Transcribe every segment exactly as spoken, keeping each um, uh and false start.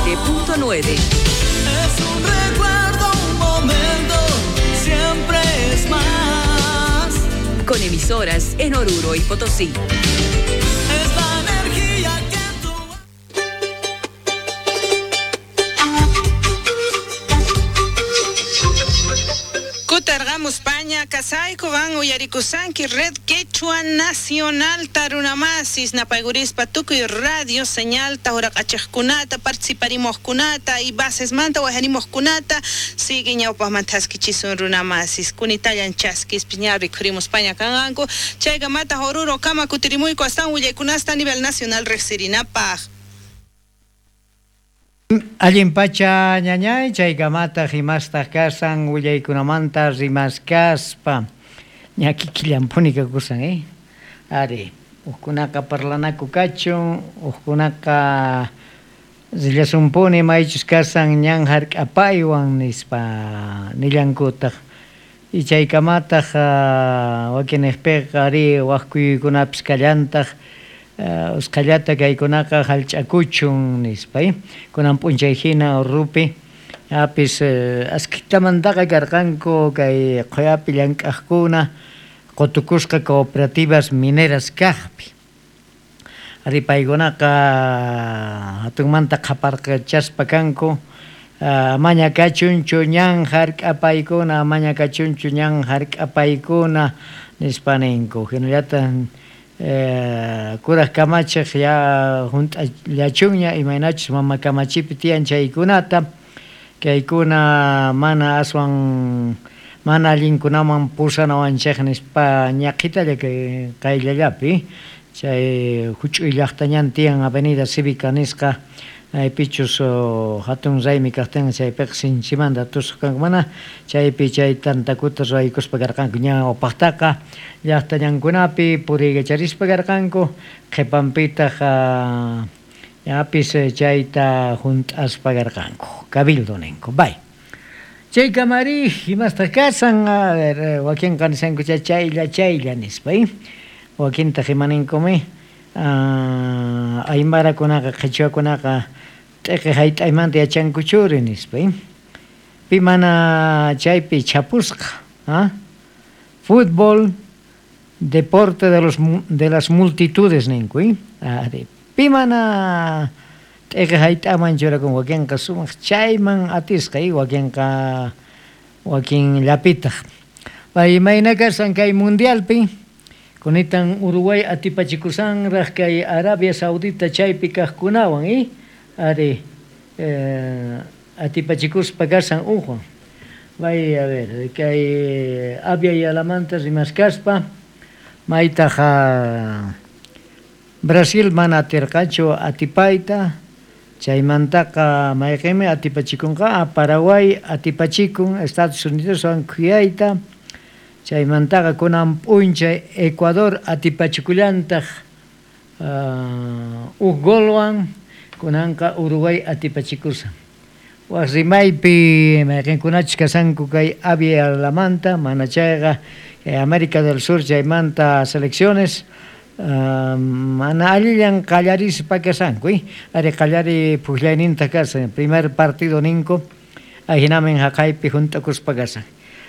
siete punto nueve. Es un recuerdo, un momento, siempre es más. Con emisoras en Oruro y Potosí. Es la energía que tú... Kutarqamus paña kasayku van uyarikusanki Red Quechua Nacional Tarunamasis napaygurispa tukuy radio señal tahuraqachaqkunata participarimojkunata y bases manta wajarimojkunata sigue ñawpaqmanta thaskichisun runamasis kunitallan chaskispi ña rikhurimus paña kanqanku chaykamata Oruro kama kutirimuyku astawan willaykunasta a nivel nacional riqsirinapaq. Allin pacha ñañay chaykamata rimastaq kasan willaykunamanta rimaskaspa ña kikillampuni kakusan eh ari hukkunaqa parlanaku kachun hukkunaqa rillasumpuni maychus kasan ñan hark'apaywan nispa nillankutaq y chaykamataq wakinniqpiqa ari wak kuyuykunapis kallantaq Uh, usqhallata kaykunaqa hallch'akuchun nispa eh? Kunan p'unchay hina Urupi apis uh, askitamantaqa karqanku kay qhuyapi llank'aqkuna qutukusqa cooperativas mineras kaqpi ari paykunaqa hatunmanta qhaparqachaspa kanku uh, amaña kachunchu ñan hark'apaykuna amaña kachunchu ñan hark'apaykuna nispa ninku hinallataq Eh, kuraj kamachiq ya hunt'allachunña imaynachus mama kamachipi tiyan chaykunata kaykuna mana aswan mana allinkunaman pusanawanchik nispa ñaqhitalla kay qayllallapi chay huch'uy llaqtañan tiyan Avenida Cívica nisqa maypichus hatun raymi kaqtin chaypiqa sinchimanta tusuq kanku mana chaypi chay tantakuta ruwaykuspa karqanku ña upaqtaqa llaqtañankunapi puriykacharispa karqanku qhipanpitaq ñapis chayta hunt'aspa karqanku cabildo ninku bay chaykamari imastaq kasan a ver wakinqa nisanku chaylla chaylla nispa wakintaq imaninkumi Uh, aymarakunaqa qhichwakunaqa t'iqi hayt'aymanta yachankuchuri nispa pi mana chaypi chapusqa ¿ah? Fútbol deporte de los de las multitudes ninku ari pi mana t'iqi hayt'aman churakun wakinqa sumaq chayman atisqa wakinqa wakin llapitaq imayna kasan kay mundialpi kunitan Uruguay atipachikusanraq kay Arabia Saudita chaypi kaqkunawan eh? Ari eh, atipachikuspa kasan uqwan bay a ver kay Abya Yalamanta rimaskaspa maytaq Brasil mana atirqachu atipayta chaymantaqa mayqinmi atipachikunqa Paraguay atipachikun Estados Unidoswan khuyayta chaymantaqa kunan p'unchay Ecuador atipachikullantaq uh, huk golwan kunanqa Uruguay atipachikusan wak rimaypi mayqinkunachus kasanku kay Abya Yalamanta mana chayqa kay América del Sur chaymanta selecciones uh, mana allillan qallarispa kasanku eh? Ari qallari puqllayninta kasan primer partido ninku ahinamin haqaypi hunt'akuspa kasan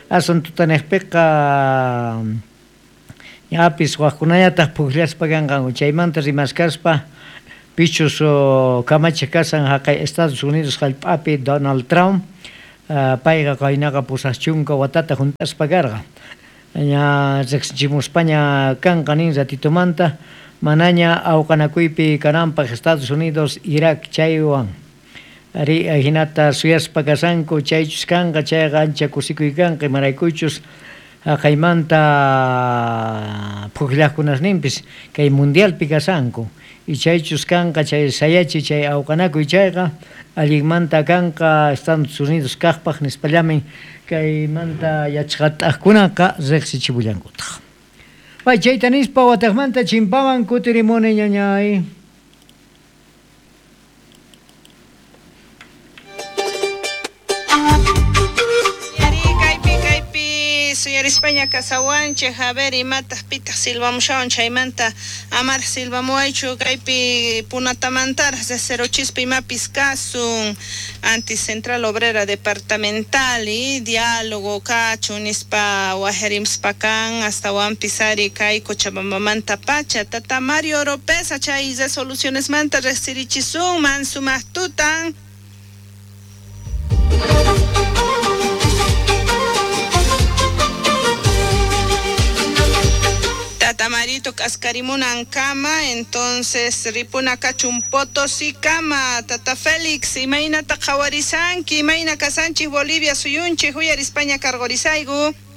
asun tutaniqpiqa ñapis waqkunañataq puqllaspa kanqanku chaymanta rimaskaspa pichus kamachiq kasan haqay Estados Unidos hallp'api Donald Trump uh, payqa qaynaqa pusaq chunka watata hunt'aspa karqa ña riqsichimuspaña kanqa nin ratitumanta manaña awqanakuypi kananpaq Estados Unidos Irak chaywan ari hinata suyaspa kasanku chaychus kanqa chayqa ancha kusikuy kanqa imaraykuchus haqaymanta puqllaqkunasninpis kay mundialpi kasanku y chaychus kanqa chay sayachi chay awqanakuy chayqa allinmanta kanqa Estados Unidos kaqpaq nispallamin kaymanta yachaqat'aqkunaqa riqsichipullankutaq bay chayta nispa wataqmanta chimpaman kutirimuni ñañay. Uyarispaña kasawanchej, a ver imataq pitaq silvamushawan chaymanta amaraj silvamuwaychu kaypi punatamantaraj cero chispa imapis kasun anticentral obrera departamental y diálogo kachun nispa wajarimspa kan astawanpis ari kay Cochabambamanta pacha tata Mario Oropesa chay resolucionesmanta rejsirichisunman sumaq tutan. Tata Marito k'askarimunan kama, entonces ripuna kachun Potosí kama. Tata Félix, imaynata qhawarisanki, imayna kasanchik Bolivia suyunchik, uyarispaña karqorisayku.